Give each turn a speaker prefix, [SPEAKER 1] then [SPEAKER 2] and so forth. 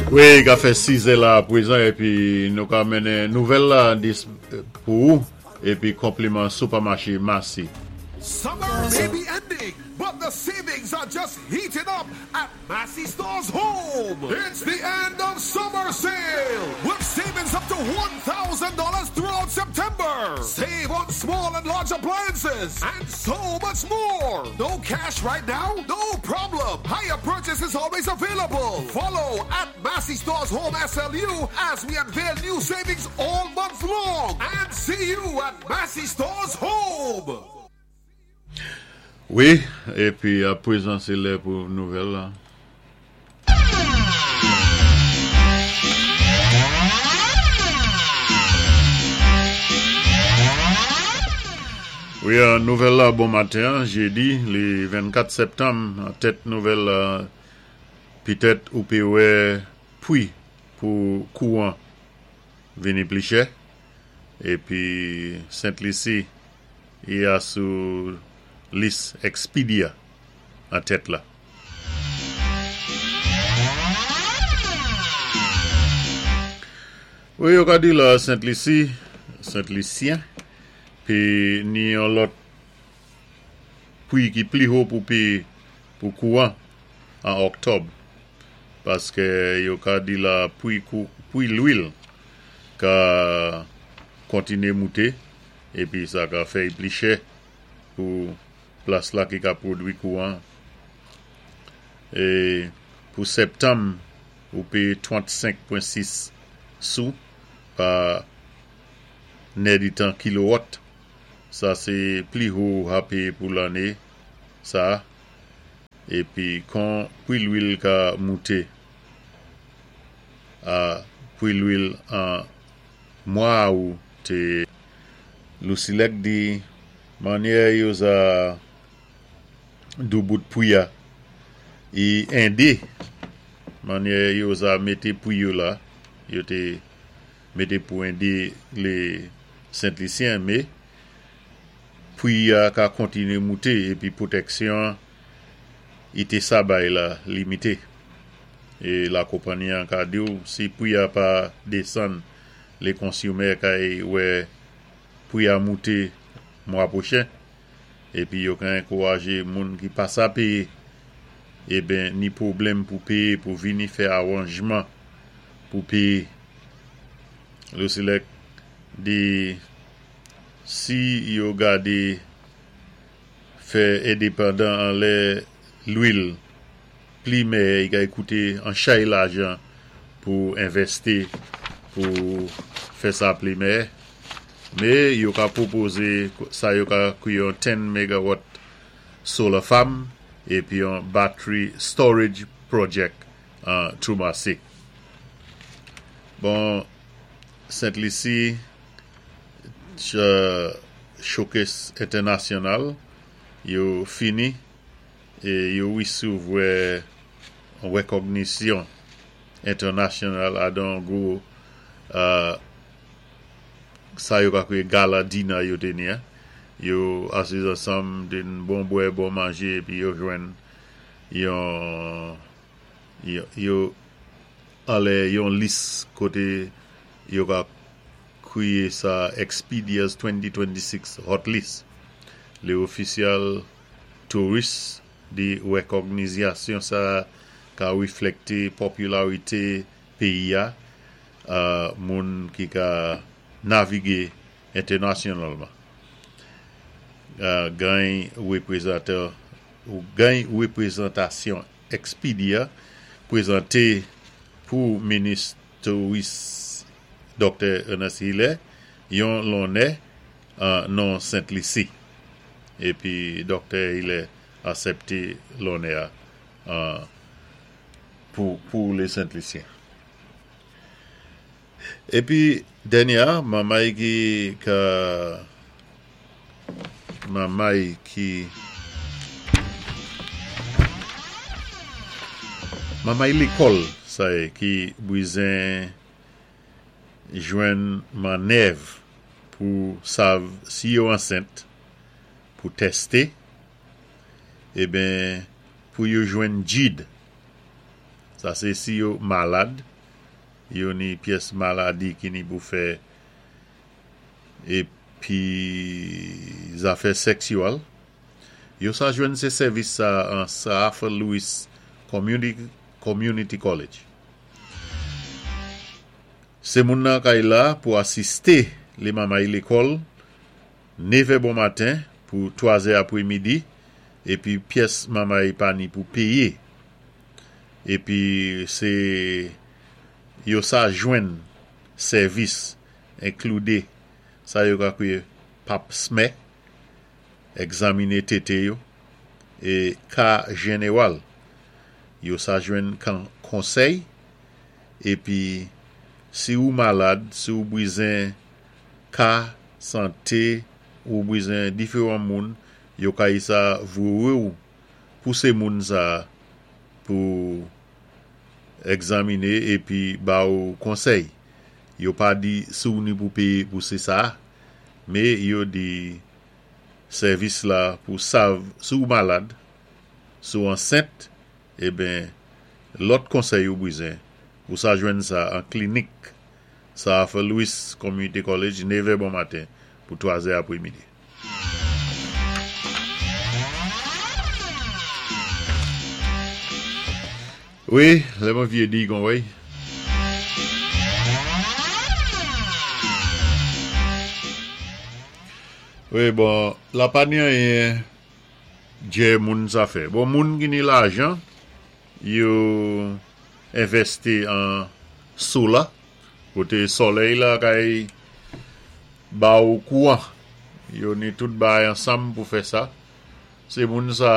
[SPEAKER 1] Wi, ka fè 6 è la pwézan épi nou ka mennen nouvèl la dis pou ou épi konpliman Supamaché Massy.
[SPEAKER 2] Summer may be ending, but the savings are just heating up at Massy Stores Home. It's the end of summer sale with savings up to $1,000 throughout September. Save on small and large appliances and so much more. No cash right now? No problem. Hire purchase is always available. Follow at Massy Stores Home SLU as we unveil new savings all month long. And see you at Massy Stores Home.
[SPEAKER 1] Wi, épi a pwézan sé lè pou nouvèl la. Wi, nouvèl la bon maten an, jédi le 24 sèptanm, an tèt nouvèl la pitèt ou pé wè pwi pou kouwan vini pli chè, épi Sent Lisi Ya sou lis Expedia an tèt la. Wi yo ka di la Sent Lisi, Sent Lisyen, pe ni yon lòt pwi ki pli ho pou peye pou kouran an Oktòb. Paske yo ka di la pwi pwi lwil ka kontinye moute. Épi sa ka fè'y pli chè pou plas la ki ka pwodwi kouwan. É pou sèptanm ou péyé 35.6 sou pa nèditan kilowòt. Sa sé pli ho ou ha péyé pou lanné sa. Épi kon pwi lwil ka moute a pwi lwil an Mwa Awou te Lusilec di mannyè yo za doubout pwi a i ende mannyè yo za mete pwi yo la yo te mete pou ende le Sentlisyen me pwi a ka kontinye moute epi pwotèksyon i te sa bay la limite. E la konpanyi an ka di w si pwi a pa desann le konsimè kay wè pwi a moute mwa pwochen. Epi yo ka enkouraje moun ki pa sa peye eben ni pwoblèm pou peye pou vini fè aranjman pou peye. Lusilec di si yo gade fè endepandan anlè lwil pli mèyè i kay koute an chay lajan pou envèsti pou fè sa pli mèyè. Me yo ka pwopoze sa yo ka kwi yon 10 megawatt solar farm epi yon battery storage project an Trou Marsi. Bon, Sent Lisi Showcase Entènasyonal yo fini e yo wisevwè yon rekògnisyon entènasyonal adan gwo sa yo ka kwiye gala dina yo te ni a. Yo asiz ansanm, te bon bwè, bon manje epi yo jwenn yon yo anlè yon lis kote yo ka kwiye sa Expedia's 2026 Hot List. Le ofisyal Touris di rekògnizyasyon sa ka reflekte popilarite peyi a moun ki ka navige entènasyonalman. Gany reprezantasyon Expedia prezante pou minis touris Doktè Ernest Hilaire yon lonè non Sent Lisi. Epi Doktè Hilaire asèpte lonè a pou le Sent Lisyen. Epi dènyè a, manmay ki ka manmay ki manmay lekòl sa ye ki bwizen jwenn mannèv pou sav si yo ansent pou tèste eben pou yo jwenn jid sa se si yo malad. Yo ni pyès maladi ki ni pou fè épi zafè sèksyèl. Yo sa jwenn sé sèvis sa an Sir Arthur Lewis Community College. Sé moun nan kay la pou asisté lé mamay lékòl nevè bon maten pou twazè apwé midi épi pyès mamay pa ni pou péyé. Épi sé yo sa jwenn sèvis enkloudé sa yo ka kwiyé pap smè, egzamine tété yo, é ka jenewal. Yo sa jwenn kan konsèy épi si ou malad, si ou bizen ka santé, ou bizen diféwan moun, yo kay sa voyé ou pou sé moun sa pou egzamine épi ba ou konsèy. Yo pa di si ou ni pou péyé pou sé sa, mé yo di sèvis la pou sav si ou malad, si ou ansent, eben lòt konsèy ou bizen, ou sa jwenn sa an klinik Sir Arthur Lewis Community College, nevè bon maten pou twazè apwé midi. Wi, lè mwen vyé di kon wèy. Wi, bon, la pa ni anyen djè moun sa fè. Bon, moun ki ni lajan, yo envèsti an sola, koté solèy la kay ba ou kouwan. Yo ni tout bagay ansanm pou fè sa. Sé moun sa.